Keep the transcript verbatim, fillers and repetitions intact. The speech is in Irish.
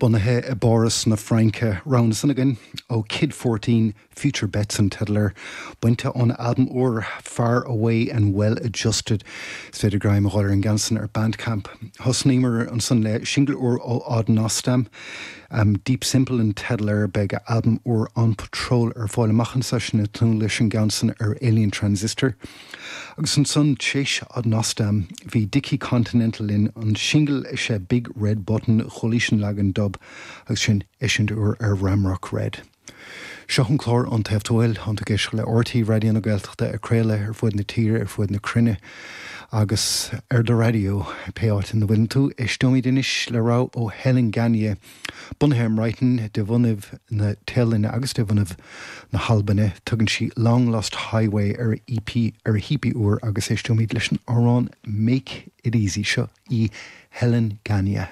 Bunaithe i bPáras na Fraince rogha ansan againn ó Kid Fourteen Future Bets an teideal air bainte ón albam úr Far Away and Well Adjusted is féidir greim a fháil ar an gceann san ar Bandcamp. Thosnaíomar ansan le single úr ó Odd Nosdam. Um, Deep Simple an teideal air beidh albam úr On Patrol ar fáil amach anseo sin tún leis an gceann san ar Alien Transistor. Agus ansan théis Odd Nosdam bhí Dickie Continental linn an single is ea Big Red Button chualaís an leagan dub agus sin eisiúint úr ar Ramrock Red. Seo an clár an taobhil an géis le R T Raidió na Gaeltachta ag craoladh ar fud na tíre ar fud na cruinne agus ar do raidió pé áit ina bhfuil tú éisteoimid anois le rogha ó Helen Gania, bunaithe i mBrighton de bhunadh na Téalainne agus de bhunadh na hAlban tugann sí Long Lost Highway ar E P ar a hE P úr agus éisteoimid leis an amhrán Make It Easy seo í Helen Gania.